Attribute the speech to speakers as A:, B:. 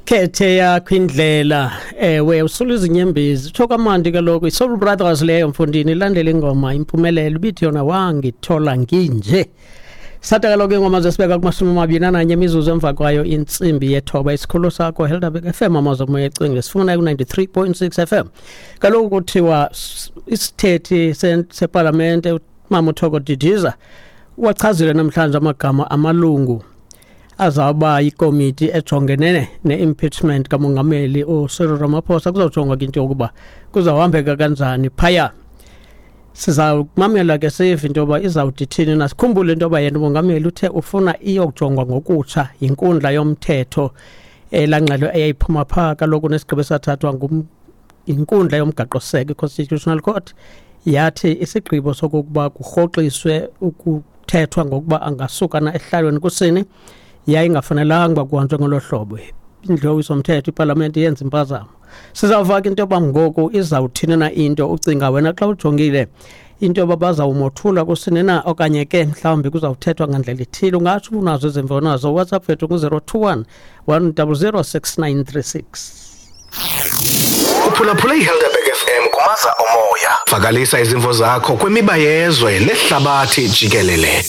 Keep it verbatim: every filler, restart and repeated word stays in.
A: Khethe yakho indlela, ewe, usula izinyembezi, utsho kamandi kaloku. I-Soul Brothers leyo, mfundini, ilandela ingoma Impumelelo, ibithi yona wangithola nginje. Satha kaloku ingoma zesibeka kumashumi amabini ananye imizuzu emva kwayo intsimbi yethoba. Isikhululo sakho Helderberg F M, amazwi omoya ecingile, sifuna ku-ninety-three point six F M. Kaloku kuthiwa isithethi sepalamente, umama uThoko Didiza, wachazile namhlanje amagama amalungu azawuba yikomiti ejongene ne-impeachment kamongameli uCyril Ramaphosa. Kuzawujongwa ke into yokuba kuzawuhambeka kanjani phaya. Sizawumamela ke sive into yoba izawuthi ithini na. Sikhumbule into yoba yena umongameli uthe ufuna iyokujongwa ngokutsha yinkundla yomthetho, elaa ngxelo eyayiphuma phaa kaloku nesigqibo esathathwa yinkundla yomgaqosiseko, i-Constitutional Court, yathi isigqibo sokokuba kurhoxiswe ukuthethwa ngokuba angasuka na esihlalweni kusini yayingafanelanga uba kuhanjwe ngolo hlobo. Indlu yowiso-mthetho, ipalamente, yenza impazamo. Sizawuva ke into yoba ngoku izawuthini na into. Ucinga wena xa ujongile into yoba bazawumothula kusini na, okanye ke mhlawumbi kuzawuthethwa ngandlela ithile? Ungatsho unazo izimvo nazo. WhatsApp wethu ngu-zero two one, one double zero, six nine three six.
B: Uphulaphule iHelderberg F M kumaza omoya. Vakalisa izimvo zakho kwimiba yezwe nehlabathi jikelele.